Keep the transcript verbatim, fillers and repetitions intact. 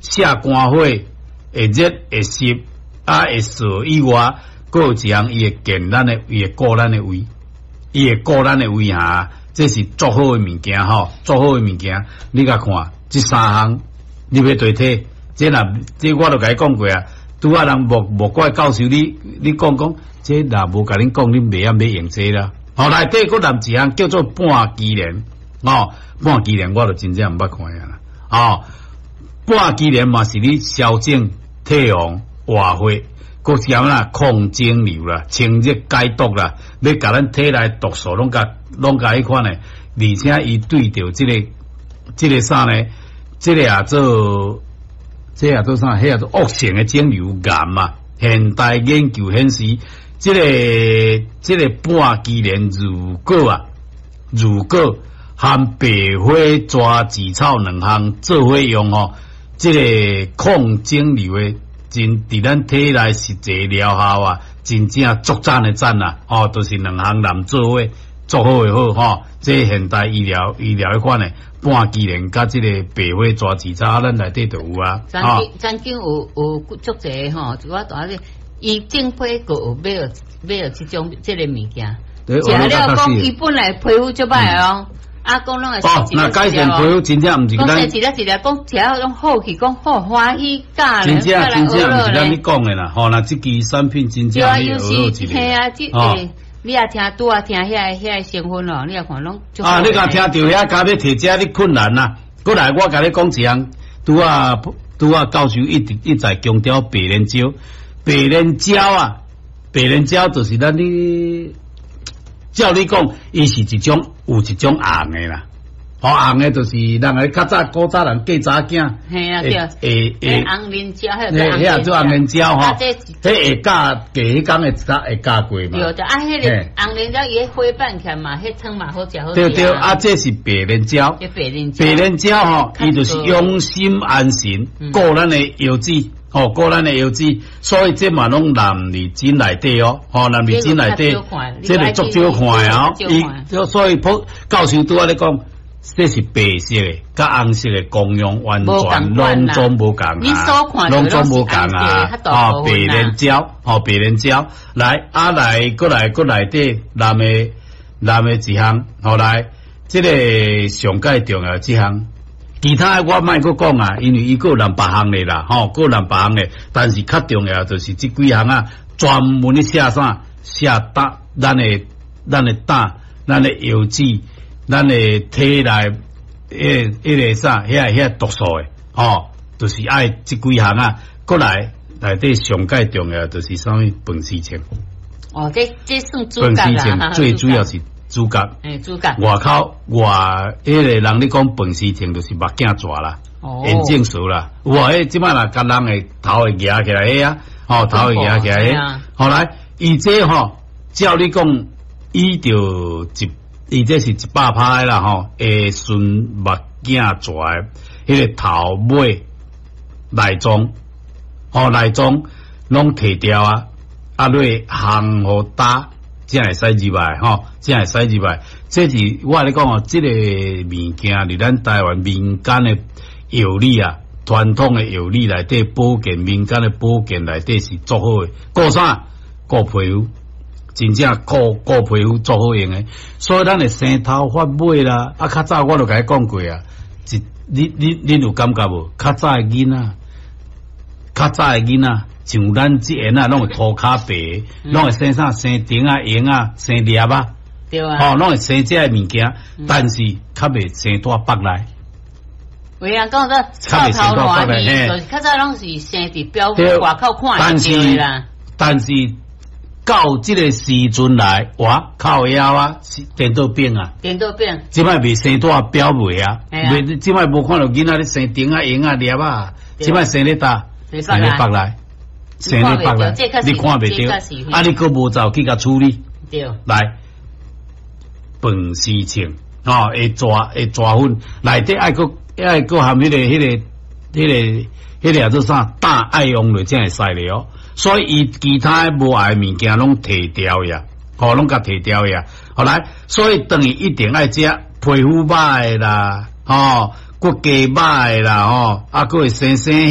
瀉肝火，會熱會濕，啊會燥以外，閣有一項伊會健咱的，伊會顧咱的胃，伊會顧咱的胃哈，這是足好的物件吼，足好的物件。你共看，這三項你欲對體，這若這我都共你講過啊。拄仔人莫莫怪教授你，你講講，這若無共恁講，恁袂曉欲用這啦。吼，內底閣含一項叫做半枝蓮，吼，半枝蓮我就真正毋捌看啊啦。吼，半枝蓮嘛是咧消腫、退紅、活血，閣兼啦抗腫瘤啦、清熱解毒啦，欲共咱體內毒素攏共攏共彼款的，而且伊對著這个這个啥呢？這个也做，這也做啥？彼也做惡性的腫瘤癌嘛。現代研究顯示，這个這个半枝蓮如果啊，如果含白花蛇舌草兩項做伙用吼，這個抗腫瘤的真佇咱體內實際療效啊，真正足讚的讚啊！吼，就是兩項攬做伙足好的好吼。這現代醫療醫療彼款的半枝蓮佮這個白花蛇舌草，咱內底就有啊。曾經曾經有有足濟吼，我大咧，伊正批閣有買著買著這種這个物件，食了講伊本來皮膚足歹哦。啊，講攏會哦，若改善皮膚真正毋是咱一粒一粒講食了攏好去，講好歡喜教真正真正毋是咱咧講的啦，吼，若這支產品真正你學好一個。嘿啊，這個你也聽拄仔聽遐个遐个成分哦，你也看攏。啊，你共聽著遐加欲提這你困難啦。過來我共你講一項，拄仔拄仔教授一直一再強調白蓮蕉，白蓮蕉啊，白蓮蕉就是咱咧。照你講，伊是一種有一種紅的啦，吼紅的就是人個較早古早人嫁查囝，嘿啊對，會會紅蓮蕉，彼個做紅蓮蕉吼，彼會嫁嫁彼工會會嫁過嘛？對對，啊，彼個紅蓮蕉伊彼花瓣起來嘛，彼湯嘛好食好食。對對，啊，這是白蓮蕉，白蓮蕉，白蓮蕉吼，伊就是養心安神，顧咱的腰子。吼，顧咱的腰子，所以這嘛攏納佇診內底哦，吼納佇診內底，這個足少看的哦。伊所以普教授拄仔咧講，這是白色的，佮紅色的功用完全攏總無仝啊，攏總無仝啊。哦，白蓮蕉，吼白蓮蕉，來啊來，閣來閣內底男的男的一項，吼來，這个上蓋重要這項。其他的我莫閣講啊，因為伊閣有兩百項的啦，吼，閣有兩百項的，但是較重要就是這幾項啊，專門咧寫啥？寫膽，咱的咱的膽，咱的腰子，咱的體內，彼彼个啥，遐遐毒素的，吼，就是愛這幾項啊，閣來內底上蓋重要就是啥物飯絲銃。哦，這這算主角啦，最主要是。主角，欸，主角，外口外彼个人咧講飯絲銃就是目鏡蛇啦，眼鏡蛇啦，有啊，彼這擺若共人會頭會夯起來彼啊，吼頭會夯起來彼，後來伊這吼，照你講，伊就一，伊這是一百趴的啦吼，會順目鏡蛇的彼个頭尾內臟，吼內臟攏提掉啊，啊落烘予焦。才會使入來吼，才會使入來。這是我咧講哦，這个物件佇咱台灣民間的藥理啊，傳統的藥理內底保健，民間的保健內底是足好的。顧啥？顧皮膚，真正顧顧皮膚足好用的。所以咱會生頭髮尾啦，啊，較早我就共你講過啊，一你你恁有感覺無？較早的囡仔，較早的囡仔。像咱這嬰仔攏會塗跤白，攏會生啥生釘仔、蠅仔、生粒仔，對啊，吼，攏會生這个物件，但是較袂生蹛腹內。有人講說臭頭爛耳，就是較早攏是生佇表外口看會著啦。但是到這个時陣來，哇，靠腰啊，顛倒變啊，顛倒變。這擺袂生蹛表尾啊，袂，這擺無看著囡仔咧生釘仔、蠅仔、粒仔，這擺生咧佗，生咧腹內。生咧腹內，你看袂著，啊！你閣無走去共處理，對，來飯絲銃，吼，會抓會抓粉，內底愛閣愛閣含彼个彼个彼个彼个叫做啥？膽愛用落才會使咧哦。所以伊其他無愛的物件攏提掉呀，吼，攏共提掉呀。後來，所以等於一定愛食皮膚歹的啦，吼，骨骼歹的啦，吼，啊，閣會生生。